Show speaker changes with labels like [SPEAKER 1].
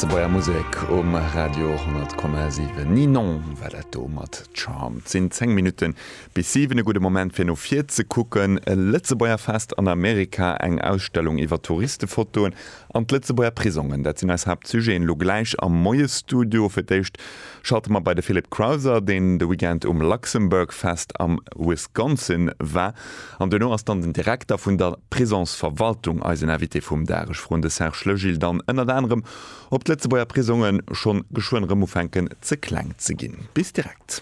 [SPEAKER 1] Lëtzebuerger Musek um Radio 10,7. Ninon war dat do mat Charm. Et sinn 10 Minutte bis 7. E gudde Moment fir no vir ze kucken. E Lëtzebuerger Fest an Amerika, eng Ausstellung iwwer Touristefotoen an d'Lëtzebuerger Prisongen. Dat sinn eis Haaptsujeten elo gläich am Moiesstudio. Fir d'éischt schalte mer bei de Philippe Crowther, deen de Weekend um Luxembourg Fest am Wisconsin war. An duerno ass dann den Direkter vun der Prisongsverwaltung eisen Invité vum Dag. Ech froen de Serge Legil dann ënnert anerem, ob d'Lëtzebuerger Prisonge schonn geschwënn erëm ufänken ze kleng ze ginn. Bis direkt.